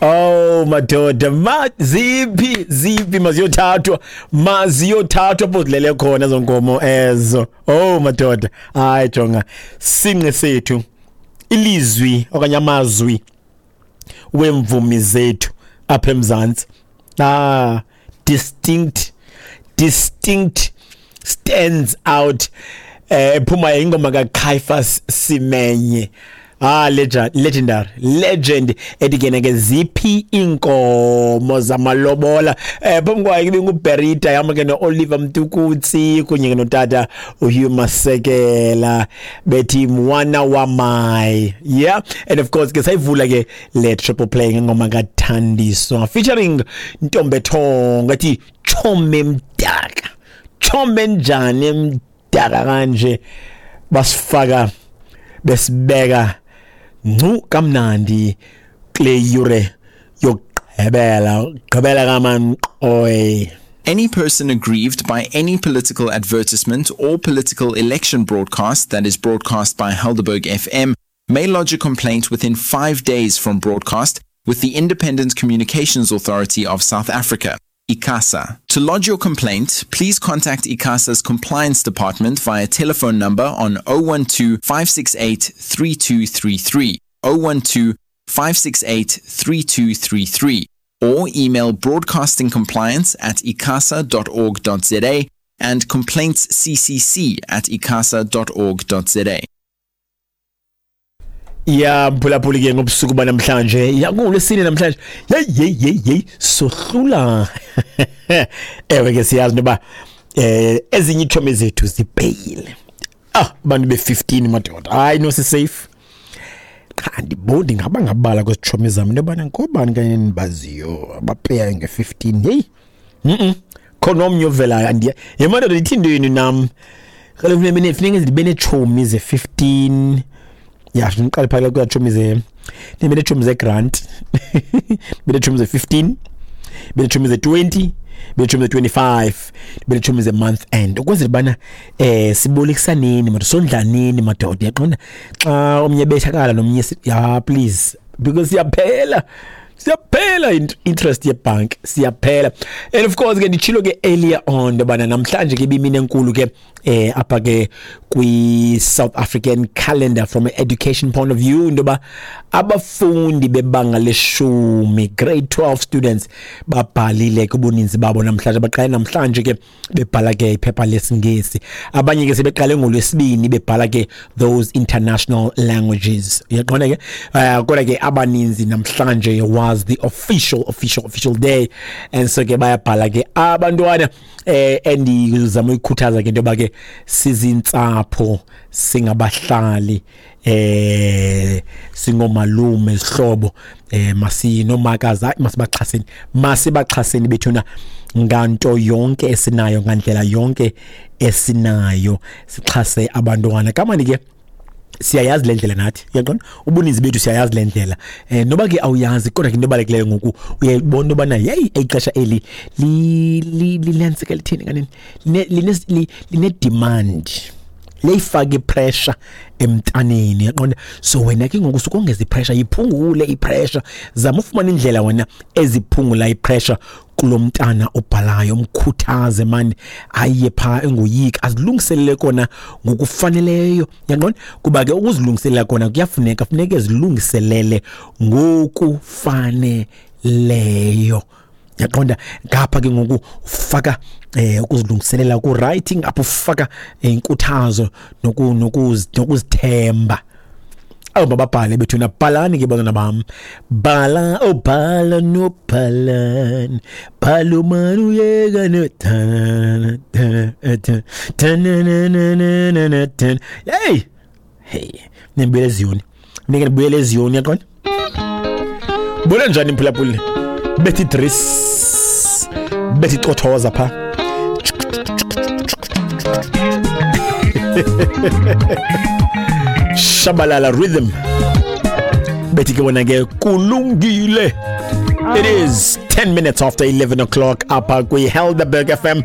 Oh madoda, ma ziphi ziphi, maziyothathwa, maziyothathwa apho zilele khona ezo nkomo ezo. Oh madoda, hayi jonga sinqe sethu ilizwi okanye amazwi wemvumi zethu apha eMzantsi. Ah, distinct, distinct, stands out. Ephuma ingoma kaCaiphus Simenye. Ah, legend, legendary, legend ethi ke ke ziphi inkomo zamalobola. Phambi kwayo ibe nguBerita yama ke noOliver Mtukutsi kunye ke notata uHugh Masekela bethi mwana wamai. Yeah, and of course ke sayivula ke le triple play ngengoma kaThandiswa featuring Ntombethongo ethi Chome Mdaka. Chome njani mdaka kanje, basifaka besibeka ncu kamnandi kule yure yokugqibela gqibela kamanqoy. Any person aggrieved by any political advertisement or political election broadcast that is broadcast by Helderberg FM may lodge a complaint within 5 days from broadcast with the Independent Communications Authority of South Africa, ICASA. To lodge your complaint, please contact ICASA's Compliance Department via telephone number on 012 568 3233, 012 568 3233, or email broadcastingcompliance@icasa.org.za and complaintsccc@icasa.org.za. Ya mphulaphuli ke ngobusuku banamhlanje, ya kungolwesine namhlanje, hey hey hey hey, sohlula. Ewe ke siyazi noba ezinye iitshomi zethu zipeyile. Ah, abantu be-15 madoda, hayi no si safe. Qha andiboni ngaba ngabala kwezitshomi zam into yobana ngobani kanye endibaziyo abapeyayo nge-15. Heyi, khona omnye ovelayo andiya. Ye madoda, ithi intweni nam? Kaloku funeka ndibe neetshomi ze-15. Ya, ndiqale phakathi kweetshomi ze, ndibe neetshomi ze-grant, ndibe neetshomi ze-15, ndibe neetshomi ze-20, ndibe neetshomi ze-25, ndibe neetshomi ze-month end, ukwenzela ubana sibolekisaneni madoda, sondlaneni madoda. Uyaqonda xa omnye ebethakala nomnye, ya please, because siyaphela, siyaphela interest yebhanki, siyaphela. And of course ke nditshilo ke earlier on into yobana namhlanje ke ibimini enkulu ke apha ke kwi-South African calendar from an education point of view, into yoba abafundi bebanga leshumi, grade 12 students, babhalile ke ubuninzi babo namhlanje. Baqale namhlanje ke bebhala ke iphepha lesiNgesi, abanye ke sebeqale ngolwesibini bebhala ke those international languages. Uyaqonda ke, kodwa ke abaninzi namhlanje was the official, official, official day, and so ke bayabhala ke abantwana. Endizama uyikhuthaza ke into yoba ke sizintsapho, singabahlali, singomalume, zihlobo, masinomakazi, hayi masibaxhaseni, masibaxhaseni bethuna nganto yonke esinayo, ngandlela yonke esinayo, sixhase abantwana. Kamani ke siyayazi le ndlela nathi, uyaqonda, ubuninzi bethu siyayazi le ndlela. Noba ke awuyazi, kodwa ke into ebalulekileyo ngoku uyayibona into yobana yeyi ixesha eli linantsika lithini kanene, line-demand, liyayifaka ipressure emntaneni, uyaqonda. So wena ke ngoku sukongeza ipressure, yiphungule ipressure, zama ufumana indlela wena eziphungula ipressure kulo mntana obhalayo, umkhuthaze mani aye phaa engoyiki, azilungiselele kona ngokufaneleyo, uyaqonda, kuba ke ukuzilungiselela kona kuyafuneka, funeke zilungiselele ngokufaneleyo, uyaqonda. Ngapha ke ngoku ufaka ukuzilungiselela ku-writing, apho ufaka inkuthazo nokuzithemba. Awu mababhale bethuna, bhalani ke bantwana bam, bhala, oh bhala nobhalani, bhala umane uyeka no hey hey, nibuyele eziyoni, nike nibuyele eziyoni, uyaqonda. Buyela njani mphulaphuli, bethi dress, bethi cothoza pha. Shabalala rhythm, bethi ke bona ke kulungile. It is 10 minutes after 11 o'clock apha kwi Helderberg FM.